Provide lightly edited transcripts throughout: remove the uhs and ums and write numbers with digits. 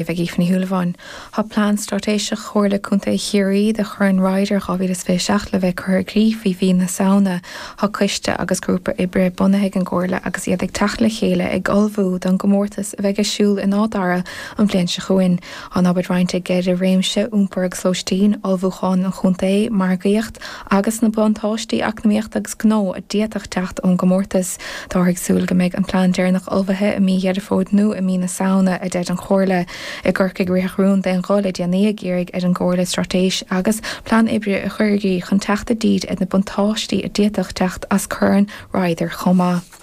Ag Aoife Ní Shúilleabháin. Tá plean straitéiseach Chomhairle Contae Chiarraí do Chorn Ryder 2027 le bheith curtha i gcrích faoi mhí na Samhna. Tá coiste agus grúpa oibre bunaithe ag an gComhairle agus iad ag teacht le chéile ag ullmhú don gcomórtas a bheidh ar siúl in Áth Dara an bhliain seo chugainn. Tá an obair roinnte i gceithre réimse, iompar agus lóistín, ullmhúchán an chontae, margaíocht agus na buntáistí eacnamaíochta agus gnó a d'fhéadfadh teacht ón gcomórtas. Táthar ag súil go mbeidh an plean deireanach ullmhaithe i mí Dheireadh Fómhair nó i mí na Samhna, a deir an Chomhairle. I gCorcaigh ritheadh rún d'aon ghuth le déanaí ag iarraidh ar an gComhairle straitéis agus plean oibre a chur i gcrích chun teacht i dtír ar na buntáistí a d'fhéadfadh teacht as Corn Ryder chomh maith.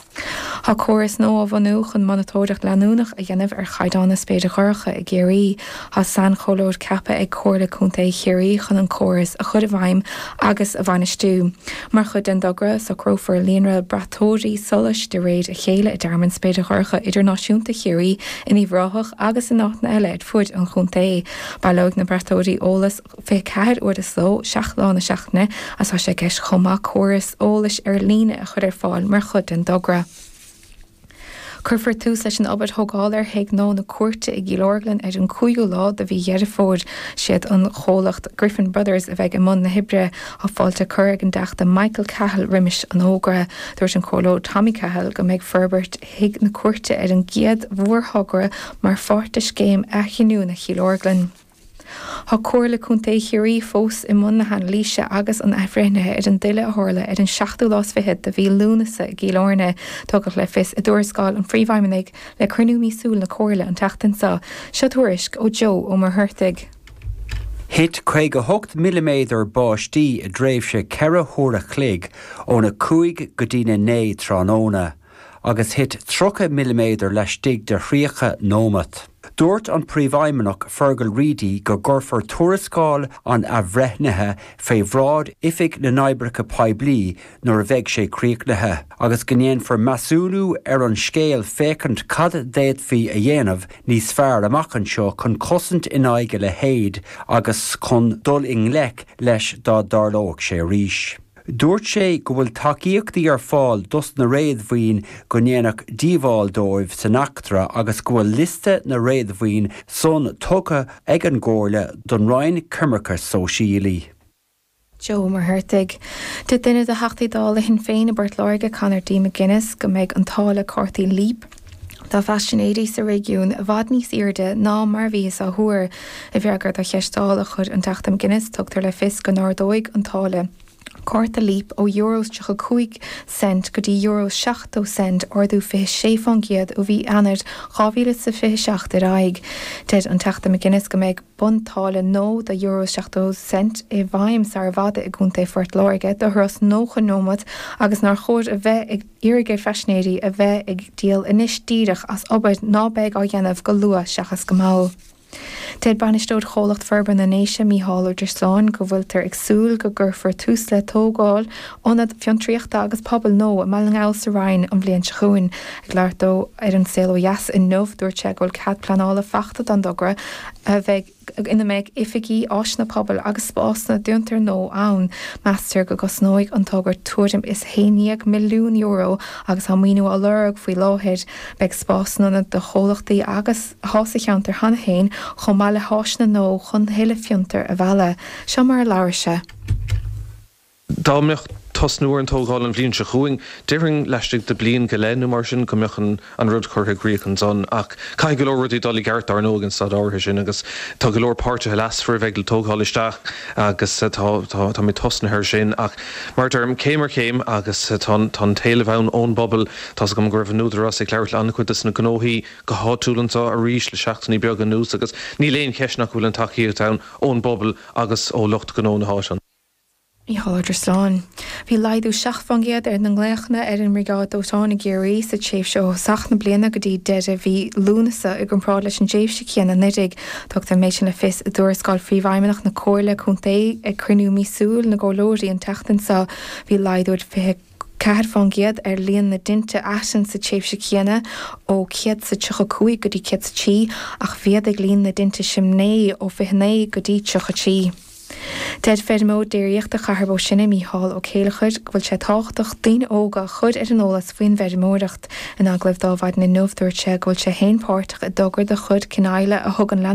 Tá córas nua á bhunú chun monatóireacht leanúnach a dhéanamh ar chaighdeán na spéire dorcha i gCiarraí. Tá sainchomhairleoir ceaptha ag Comhairle Contae Chiarraí chun an córas a chur i bhfeidhm agus a bhainistiú. Mar chuid den dtogra, socrófar líonra braiteoirí solais de réir a chéile i dTearmann Spéire Dhorcha Idirnáisiúnta Chiarraí, in Uíbh Ráthach agus in áiteanna eile ar fuaid an chontae. Baileoidh na braiteoirí eolas 24 uair sa ló, 7 lá na seachtaine, agus tá sé i gceist chomh maith córas eolais ar líne a chur ar fáil mar chuid den dtogra. Cuirfear tús leis an obair thógála ar Thigh nua na Cúirte i gCill Orglan ar an 5ú lá de mhí Dheireadh Fómhair. Siad an chomhlacht Griffin Brothers a bheidh i mbun na hoibre. Tá fáilte curtha ag an dTeachta Michael Cahill roimis an fhógra. Dúirt an Comhairleoir Tommy Cahill go mbeidh forbairt Thigh na Cúirte ar an gcéad mhórthogra mar pháirt de scéim athghiniúna Chill Orglan. Tá Comhairle Contae Chiarraí fós i mbun na hanailíse agus an athbhreithnithe ar an dtuile a tharla ar an seachtú lá is fichead de mhí Lúnasa i gCill Airne, tugadh le fios i dtuarascáil an Phríomhfheidhmeannaigh le cruinniú míosúil na Comhairle an tseachtain seo. Seo tuairisc ó Joe Ó Muircheartaigh. Thit 58 milliméadar báistí i dtréimhse 4 huaire a chloig óna 5 go dtína 9 tráthnóna. agus thit 30 milliméadar laistigh de 30 nóimeat. Dúirt an Príomhfheidhmeannach Fergal Reidy go gcuirfear tuarascáil an athbhreithnithe fé bhráid Oifig na nOibreacha Poiblí nuair a bheidh sé críochnaithe, agus go ndéanfar measúnú ar an scéal féachaint cad d'fhéadfaí a dhéanamh níos fearr amach anseo chun cosaint in aghaidh a leithéid agus chun dul i ngleic leis dá dtarlódh sé arís. Dúirt sé go bhfuil tacaíochtaí ar fáil dos na réadmhaoin go ndéanadh díobháil dóibh san eachtra agus go bhfuil liosta na réadmhaoin san tugtha ag an gComhairle don Roinn Coimirce Sóisialaí. Joe Ó Muircheartaigh. Deir duine de Theachtaí Dála Shinn Féin i bPort Láirge, Conor D. McGuinness, go mbeidh an táille cártaí Leap do phaisinéirí sa réigiún i bhfad níos airde ná mar a bhíothas á thuar. I bhfreagra do cheist Dála a chuir an Teachta McGuinness, tugtar le fios go n-ardóidh an táille cárta Leap ó euro is 35 cent go dtí euro is 70 cent, ardú 26% ó mhí Eanáir 2027 ar aghaidh. Deir an Teachta McGuinness go mbeidh buntáille nua de euro is 70 cent i bhfeidhm sara bhfada i gContae Phort Láirge do thuras 90 nóiméad agus nár chóir a bheith ag iarraidh ar phaisinéirí a bheith ag díol anois díreach as obair ná beidh á dhéanamh go luath seachas go mall. Deir bainisteoir Chomhlacht Forbartha na nDéise, Mícheál Ó Drisleáin, go bhfuiltear ag súil go gcuirfear tús le tógáil ionad fiontraíochta agus pobail nua i mBaile na nGall sa Rinn an bhliain seo chugainn. Ag labhairt dó ar An Saol Ó Dheas inniu, dúirt sé go bhfuil cead pleanála fachta don dtogra a bheidh ina mbeidh oifigí, áiseanna pobail agus spásanna d'fhiontair nua ann. Meastar go gcosnóidh an togra tuairim is €11 milliún agus tá maoiniú á lorg faoi láthair. Beidh spás san ionad do chomhlachtaí agus atá sa cheantar cheana féin chomh maith le háiseanna nua chun tuilleadh fiontar a mhealladh. Seo mar a labhair sé. Dá mbeadh tosnú ar an tógáil an bhliain seo chugainn, déarfainn laistigh de bliain go leith nó mar sin go mbeadh an rud curtha i gcrích ansan. Ach caithfidh go leor rudaí dul i gceart dar ndóigh an staid áirithe sin agus tá go leor páirtithe leasmhara a bheidh le tógáil isteach agus tá táimid tosnaithe ar sin. Ach mar a deirim, céim ar chéim agus tá an t-éileamh ann ón bpobal. Tá's agam go raibh an Údarás ag labhairt le an-chuid des na gnóthaí go háitiúil anseo arís le seachtainí beaga anuas agus níl aon cheist nach bhfuil an tacaíocht ann ón bpobal agus ó lucht gnó na háite. Mícheál Ó Drisleáin. Bhí laghdú 7% ar na nglaochanna ar an mBriogáid Dóiteáin i gCiarraí sa tréimhse ó thosach na bliana go dtí deireadh mhí Lúnasa i gcomparáid leis an dtréimhse chéanna anuraidh. Tugtar an méid sin le fios i dtuarascáil Phríomhfheidhmeannach na Comhairle Contae ag cruinniú míosúil na gComhairleoirí an tseachtain seo. Bhí laghdú 24% ar líon na dtinte aitinn sa tréimhse chéanna, ó 135 go dtí 103, ach mhéadaigh líon na dtinte simné ó 29 go dtí 33. Deir feirmeoir déiríochta Chathair Bó Sine, Mícheál Ó Céileachair, go bhfuil sé tábhachtach daoine óga a chur ar an eolas faoin bhfeirmeoireacht. In agallamh dó Adhmhaidin inniu, dúirt sé go bhfuil sé féin páirteach i dtogra de chuid Cionnaola a thugann.